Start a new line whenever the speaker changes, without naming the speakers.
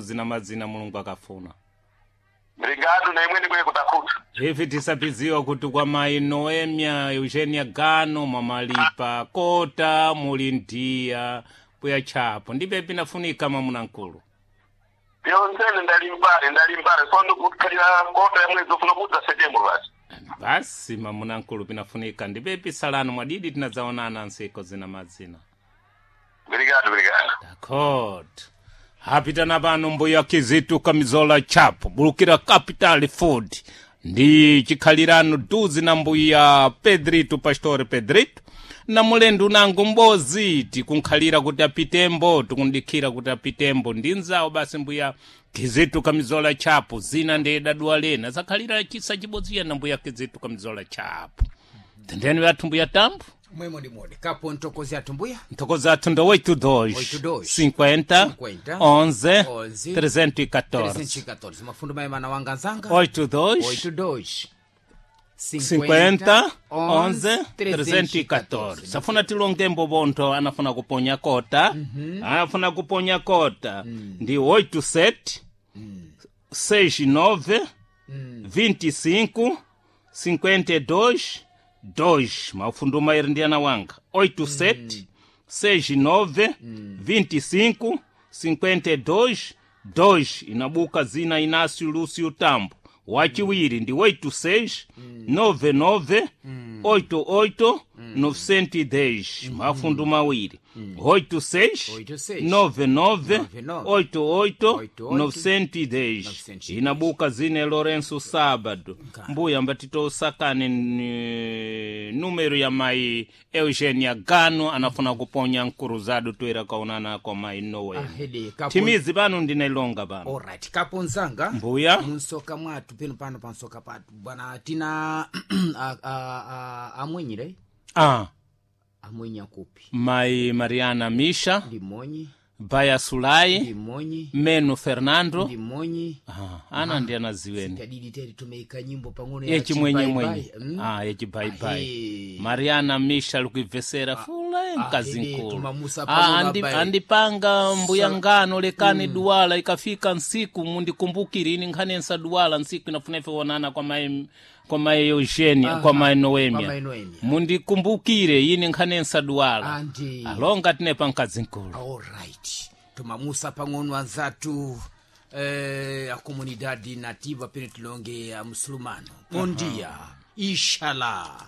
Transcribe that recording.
Zina mazina Mulungu akafuna.
Obrigado na imweni kwe kutafuta.
Ivi tisapiziwa kuti kwa mayi Noemia Eugenia Gano mwamalipa kota muli ndiya puya chapo ndipe pinafunika mwamuna nkulu.
Yonsene ndalimbale ndalimbale so ndikukhalira kota ya mwezi ufuna kudza Setembro basi.
Basi mwamuna nkulu pinafunika ndipe pisalano mwadidi tinadzaonana nsiko zina mazina.
Obrigado, obrigado.
D'accord. Hapitana pano mbuya Kizitu Kamizola Chapo bulukira Capital Food ndi chikhalirano duzi na mbuya Pedrito Pastore Pedrito na mulendu nangu mbozi tikunkhalira kuti apitembo tikundikhira kuti apitembo ndi nzawo basi mbuya Kizitu Kamizola Chapo zina ndi daduwa lena zakhalira chisa chibodzi na mbuya Kizitu Kamizola Chapo tendeni wathu mbuya Tambo
Mwemo ndi mode kapo ntokozi athu mbuya
Ntokoza athu 82
82,
50
50,
11
11,
314
314 mafundo mayemana wanga nzanga
82
82
50 11 314 safuna tilongembo bontho anafuna kuponya kota anafuna kuponya kota ndi 87 69 25 52 2 mafundo mairi ndi ana wanga 87 69 25 52 2 inabuka zina Inácio Lúcio Tambo wachiwiri ndi 86 99 88 910 mafundu mawiri 86 99 88 910 inabuka zine Lourenço Sábado mbuya mbatitosakane ni numero ya mai Eugenia Gano anafuna kuponya nkuruzado toera kaonana kwa mai Noel
ahede kapo
timizi pano ndinailonga pano
alright kapo nzanga
mbuya
munsoka mwathu peno pano pansoka pathu bwana tina amwenyire
ah,
amwenye akupi
mai Mariana Misha
ndimonyi
Baya Sulai
ndimonyi
Meno Fernando
ndimonyi
ah, ana ndi anaziweni
tadidi teri tumeika nyimbo pang'ono ya
yechimwenyemwenye
chibaibai. Mm.
ah, yechibaibai
Ahe.
Mariana Misha likuibvesera fula mkazi
ahede,
nkulu
tumamusa
Ah,
pano babai.
andipanga mbuya ngano lekani duwala ikafika nsiku mundikumbukire ini nkhani nsaduwala nsiku inafuna ife onana kwa mai kwa mai Eugenia kwa mai
Kwa
Noemia
mai Noemia.
mundikumbukire ini nkhani nsaduwala
Andi.
alonga tinepa mkazi nkulu
alright tumamusa pang'ono anzathu a comunidade nativa pene tilonge a musulumano bom dia inshallah.